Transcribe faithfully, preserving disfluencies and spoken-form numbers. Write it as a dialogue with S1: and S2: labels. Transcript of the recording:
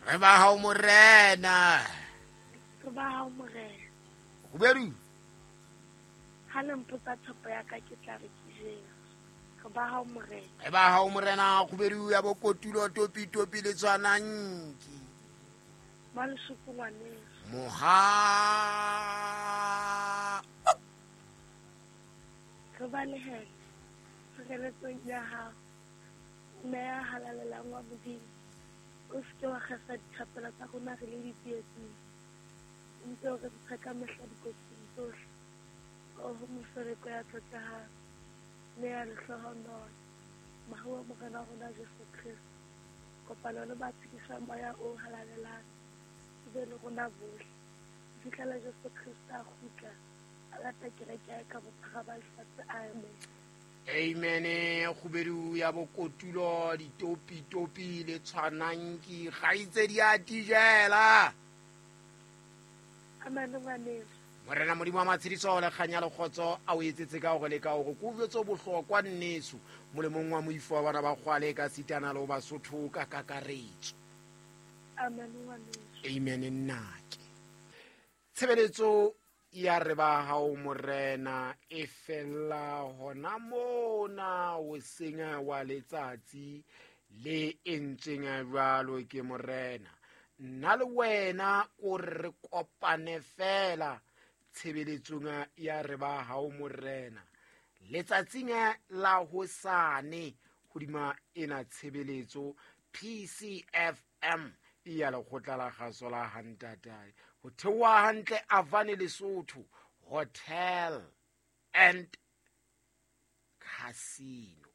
S1: Re ba hao morena.
S2: Re ba hao morena.
S1: Kgubedu.
S2: Ha le mpotsa tshepo ya ka ke tla re ke Jesu. Re ba hao morena.
S1: Re ba hao morena kgubedu ya bokotulo topi topi le tshwananki.
S2: Ba lesuku ngwaneso.
S1: Moha.
S2: Re ba lehele tshireletsong ya hao. Mme ya halalelang wa Modimo. O se ke wa kgesa dithapelo tsa rona re le ditsietsing. O ntse o re ntsha ka mehla dikotsing tsohle. Oho mofereko ya tlotlehang, mme ya lehlohonolo, mohau wa Morena wa rona Jesu Kreste, kopano le ba tshedisang moya o halalelang, e be le rona bohle. Ho fihlela Jesu Kreste a kgutla, a lata kereke ya ka bophara ba lefatshe. Amen.
S1: Amen. Kgubedu ya bokotulo ditopi topi le tshwananki kgaitsedi a tijela.
S2: Amen ngwaneso.
S1: Morena Modimo wa matshediso le kganya le kgotso a o etsetse ka hore le ka hore ko jwetse bohlokwa nneso molemong wa moifo wa bana ba kgwale ka sitana le Basotho ka kakaretso.
S2: Amen ngwaneso.
S1: Amen nnake. Tshebeletso ya re ba hao morena e fella hona mona o senya wa letsatsi le entseng jwalo ke morena. Nna le wena o re kopane fela tshebeletsong ya re ba hao morena letsatsing la hosane hodima ena tshebeletso P C F M ya lekgotla la kgaso la Hantatae ho theoha hantle Avane Lesotho Hotel and Casino.